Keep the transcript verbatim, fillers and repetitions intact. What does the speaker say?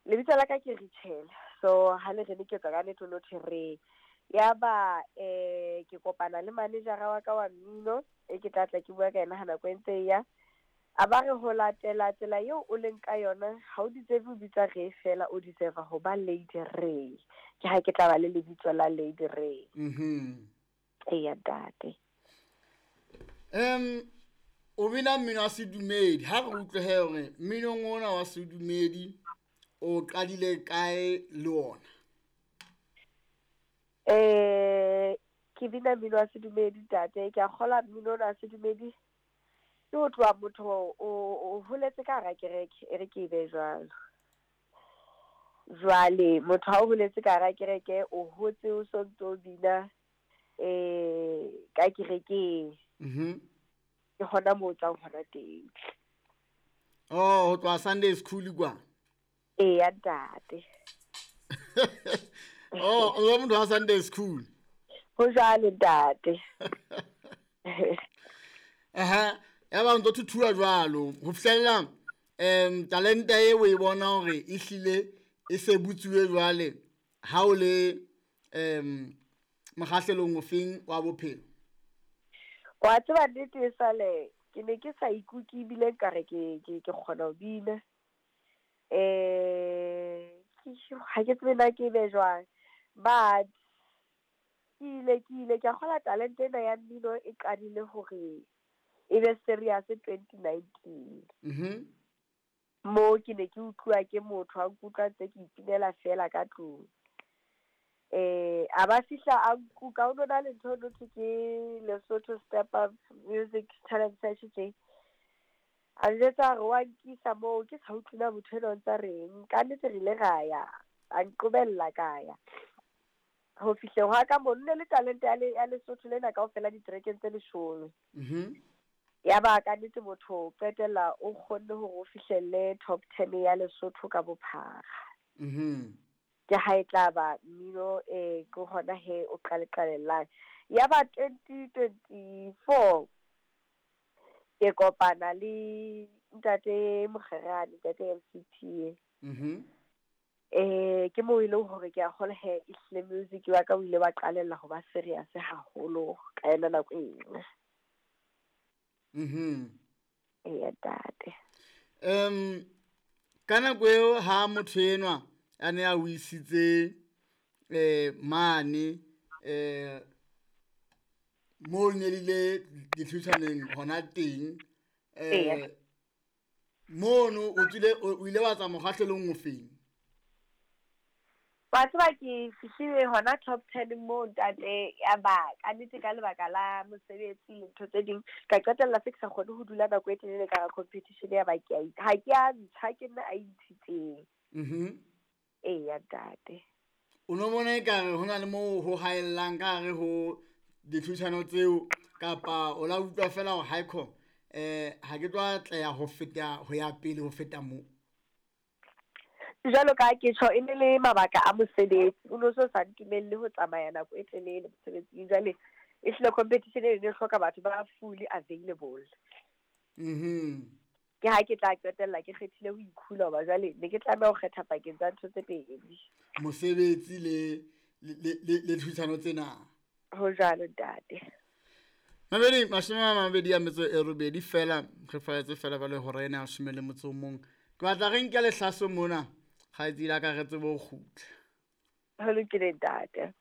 Lebitso la ka ke Richel. So ha le re le ke tswa ka nnete no thwe re. Ya ba eh ke kopana le manager wa ka wa mmino e ke tla tla ke bua ka yena ha nako e ntse e ya. A ba re ho latela tsela eo o leng ka yona ha o deserve ho bitsa Ray fela, o deserve ho ba Lady Ray. Ke ha ke tla ba le lebitso la Lady Ray. Mhm. Eya ntate. Um o bina mmino wa sedumedi, ha re utlwe he hore mminong ona wa sedumedi o qadile kae le ona? Eh ke bina mmino wa sedumedi ntate, ke a kgola mmino ona wa sedumedi ke ho tloha motho o, o holetse ka hara kereke, e re ke e be jwalo. Jwale motho ha o holetse ka hara kereke, o hotse o sontso o bina eh ka kerekeng. Mhm. Ke hona moo o tswang hona teng. Oh, ho tloha Sunday school kwa? Eya ntate. Oh, o motho wa Sunday school. Ho jwalo ntate. Aha, ya ba ntso thuthuwa jwalo ho fihlella em talente e o e bona hore e hlile e se butsuwe jwale ha o le em mokgahlelong ofeng wa bophelo? Wa tseba nnete e sale ke ne ke sa ikutlwe ebile nkare ke ke ke kgona ho bina. Eh ke ha ke tsebe na ke be jwang, but ke ile ke ile ke a kgola talente ena ya mmino e qadile hore e be serious twenty nineteen. Mhm. Mo ke ne ke utluwa ke motho a nkutlwa ntse ke ipinela fela ka tlung. Eh a ba fihla a nkuka, ho no na le ntho e no thwe ke Lesotho Step Up Music Talent Search tje. A njwetsa hore wa nkisa moo ke sa utlwe na motho enwa o ntsa reng. Ka nnete re ile ra ya, a nqobella ka ya. Ho fihleng hwa ka mo nne le talente ya le ya Lesotho lena kaofela diterekeng tse leshome. Mhm. Ya ba ka nnete motho o qetella o kgonne hore o fihlelle top ten ya Lesotho ka bophara. Mhm. Ke ha e tla ba mmino eh ke hona he o qale qalellang. Ya ba twenty twenty-four ke kopana le ntate Mokgerane, ntate M C T. Mhm. Eh ke moo e leng hore ke a kgolwa he ehlile music wa ka o ile wa qalella ho ba serious haholo ka yona nako eno. Mhm. Eya ntate. Em ka nako eo ha motho enwa a ne a o isitse eh mane eh mo ne le ditlhutshwaneng hona teng, eh mono o tswile, o ile wa tsa mokgahlelong o feng? Wa tseba ke fihlile hona top ten moo ntate, ya ba ka nnete ka lebaka la mosebetsi le ntho tse ding, ka qetella se ke sa kgone ho dula nako e telele ka hara competition ya ba ke a i-, ha ke a ntsha, ke nna a intshitseng. Mhm. Eya ntate. O no bona ekare ho na le moo ho haellang ka hare ho ditlhutshano tseo, kapa o la utlwa fela hore haekho, eh, ha ke tlo atleha ho feta, ho ya pele ho feta moo? Jwalo ka ha ke tjho, e ne le mabaka a mosebetsi, o no so sa ntumelle ho tsamaya nako e telele mosebetsing. Jwale e hlile competition e ne e hloka batho ba fully available. Mhm. Ke ha ke tla qetella ke kgethile ho ikhula hoba jwale ne ke tlameha ho kgetha pakeng tsa ntho tse pedi. Mosebetsi le, le, le, le, le tlhodisano tsena. Ho jwalo ntate. Mabedi, mashome a mabedi a metso e robedi fela, re falletse fela ba le hora ena ya leshome le motso o mong. Ke batla re nke lehlaso mona, kgaitsedi ya ka re tsebe ho kgutla. Ho lokile ntate.